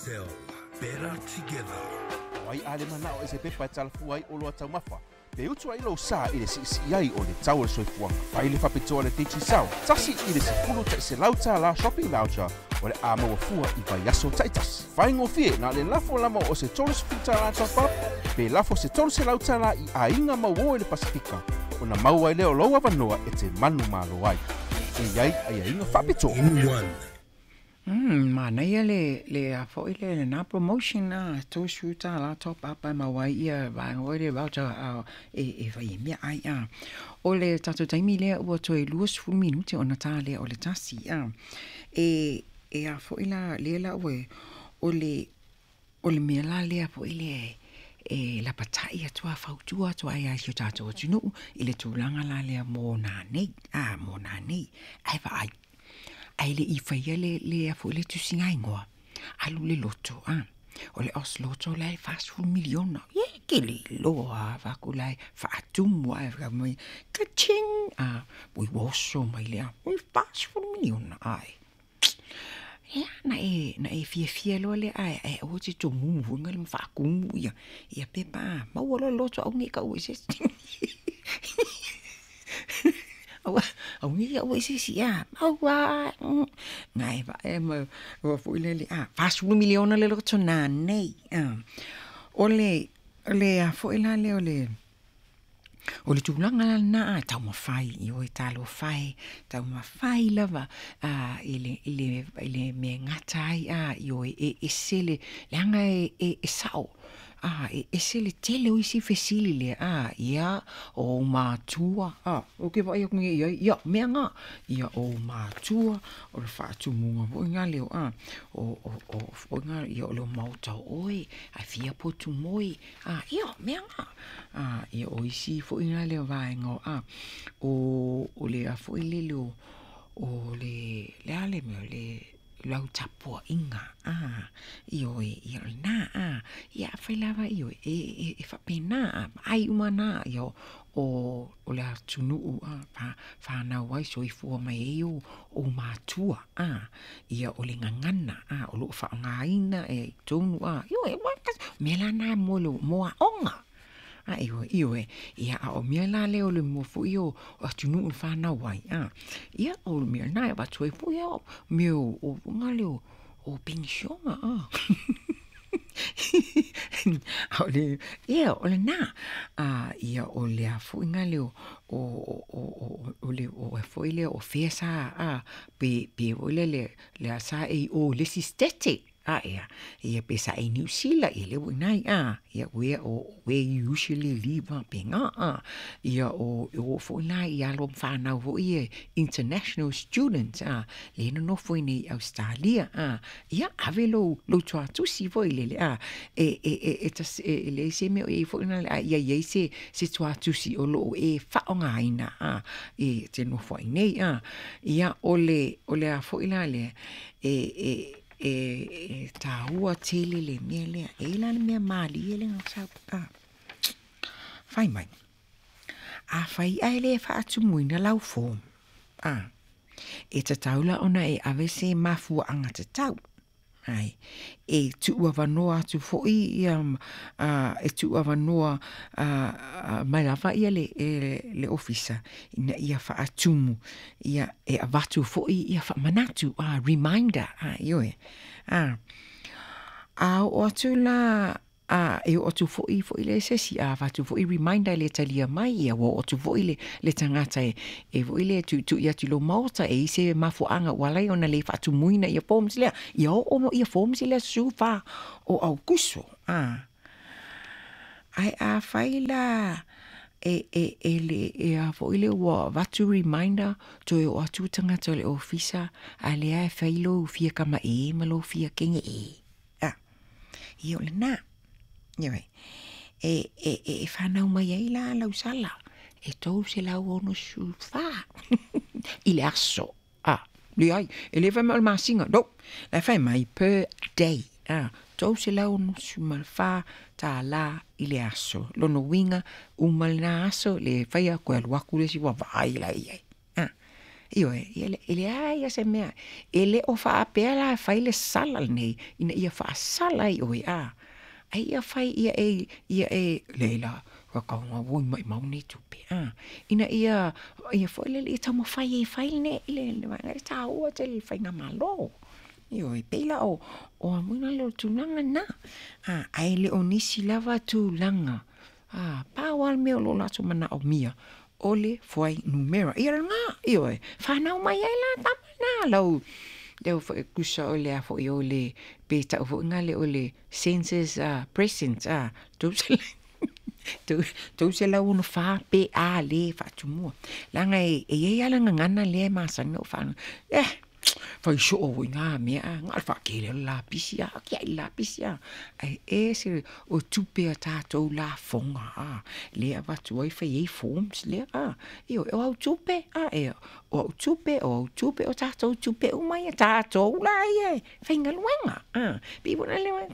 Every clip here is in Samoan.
Digicel, better together. O ai a le manao i se pepa e talafua ai oloa taumafa, pe utu ai lou sa i le siisii ai o le tau o le soifuaga. Fai le faapitoa a le Digicel, $1 i le $100 shopping voucher o le a maua fua i vaiaso taitasi. Faigofie na o le lafo lava o se $30 top up, pe lafo se $300 i aiga mauō i le Pasifika, ona maua ai lea o lou avanoa e te manumalo ai. E i ai aiaiga faapitoa. In one. Manaia le a foi le lena promotion a $30 top up ae maua ai ia vaega foi le voucher a e fai ai meaai a. O le tatou taimi lea ua toe 20 minute ona ta lea o le 1 a. E a foi la lea la ua o le mea la lea foi le e lapatai atu a fautua atu ai ia si o tatou atunuu i le tulaga la lea mo nanei a mo nanei ae vaai ae le i faia le a foi le tusiga igoa alu le loto a o le Oz Lotto la e 40 miliona ye ke le iloa faku la e faatumu ae fai mai ka-ching a ui ua oso mai lea ui 40 miliona ae ia na e fiafia loa lea ae ae aua te tomumu foi le ma faatumu ia pepa a maua loa le loto aua nei taua i se isi aua aua nei taua i se isi a maua na e vae ma ua foi lele a 40 miliona le loto nanei a o le a foi la lea o le tulaga la lena a taumafai i oe talofa e taumafai lava a i le mea gata ai a i oe e ese le leaga e sao a e ese le tele o isi fesili lea a ia o ou matua a o ke vaai atu nei i ai ia mea nga ia o ou matua o le faatumuga foi nga leo a o foi nga ia o le maota o oe ae fia potu moe a ia mea nga a ia o isi foi nga leo vaega o a o le a foi lele o le a le mea o le lau tapuaʻiga a ioe ia o lena a ia afai lava ioe e faapena a vaai uma na ia o le atunuu a whanau ai soifua mai ai o matua a ia o le gagana a o loo faaaogaina e tonu a ioe mea la na mo le mo aoga a ioe ioe ia a o mea la lea o le mua foi o atunuu i whanau ai a ia o le mea na e avatu ai foi ao mea o nga le o penisiona a o le ia o lena a ia o le a foi nga le o le o foi le o fea sa a pe foi le a sa e o le isi state a ia ia pe sa e New Zealand ia le ua inai a ia where o where you usually live a pe nga a ia o foi la i alo whanau foi e international students a le nonofo i nei Australia a ia ave lou tuatusi foi lele a e tas e le se mea o i foi na a ia ia se tuatusi o loo e faaaogaina a e te nofo ai nei a ia o le a foi la le e tāua tele le mea lea e la le mea malie le ngau a fai mai a fai ai le faatumuina lau form a e tatau la ona e ave se mafuaanga tatau ai e tuu avanoa atu foi ia a e tuu avanoa a mai lava ia le ofisa ina ia faatumu ia e avatu foi ia faamanatu a reminder a ioe a oo atu la a e oo atu foi foi le se isi a avatu foi reminder le talia mai ia ua oo atu foi le tagata e foi le tuitui atu i lou maota e i se mafuaaga ua ala ai ona le faatumuina ia forms lea ia oo ia forms lea 14 o Aukuso a ae afai la e le e a foi le ua avatu reminder toe oo atu tagata o le ofisa a lea e fai lou fia kamaʻē ma lou fia kegeʻē a ia o lena ioe e whanau mai ai la lau sala e 364 i le aso a leai e le fai mai o le masina no la fai mai per day a $364 i le aso lona uiga uma lena aso le faia koe alu aku le isi ua vaai la i ai a Ioe, ia e leai lava se mea, e le o faapea la e fai le sala lenei ina ia faasala ai oe, a, a ia fai ia e, ia e, leai la, tauga ua maumau nei tupe, a, ina ia, ia foi lele ia taumafai ai e fai le, le vaega lea, e taua tele i le faigamalo. Ioe, e pei la o, o a foi lea o le tulaga lena, a, ae le o nisi lava tulaga, a, pau lava le mea o lo o latou manaomia, o le fuainumera. Ia lena, ioe, fanau mai ai la tama na lau, leu foi tusa o le a foi o le, pe tau foi lena o le census present, a, 364 pe a le faatumua. Leaga e i ai lava le gagana lea e masani ona ou faalogo, eh, fai soo foi na mea, a, na o le faatele o le lapisi, a, tiai le lapisi, a. Ae ese o tupe a tatou lafoga, a, lea e avatu ai fai ai forms lea, a. Ioe, o au tupe, a, e, o au tupe, o au tupe, o tatou tupe uma ia, tatou la ia e faigaluega, a. Pei foi lea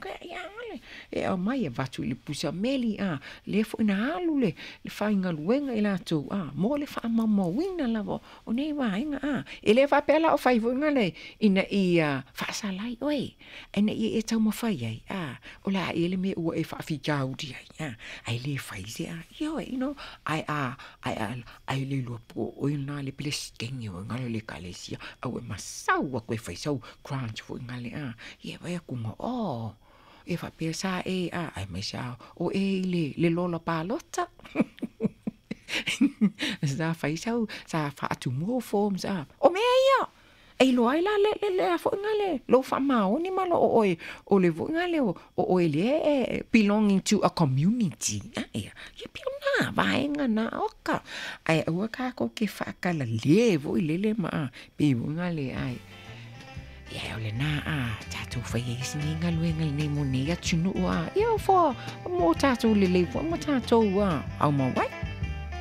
e aumai e avatu i le pusa meli, a, lea foi na alu le faigaluega i latou, a, mo le faamaumauina lava o nei vaega, a. E le faapea la o fai foi lale ina ia faasala ai oe, ae ina ia e taumafai ai, a, o le a ea le mea ua e faafitauli ai, a, ae le fai se, a, ioe, you know, ae a, ae a, ae le iloa po o oe lena le Peresetene o le ekalesia, a ua e masau atu e fai sau grant foi lale, a, ia e vaai atu, oh, e faapea sa e, a, aemaise lava o e i le, le lola palota. Sa fai sau, sa faatumua forms, a, o mea ia, e iloa ai la le, le, le a foi le lou faamaoni ma lo o oe, o le foi lea o oe lea e belonging to a community. A, ia, ia pei o na vaega na oka. Ae aua tatou te faatalalē foi lele ma a, pei foi lale ai. Ia, o lena, a, tatou fai ai isi nei galuega lenei mo nei atunuu, a, ia, for, mo tatou lelei foi ma tatou, a, aumau ai.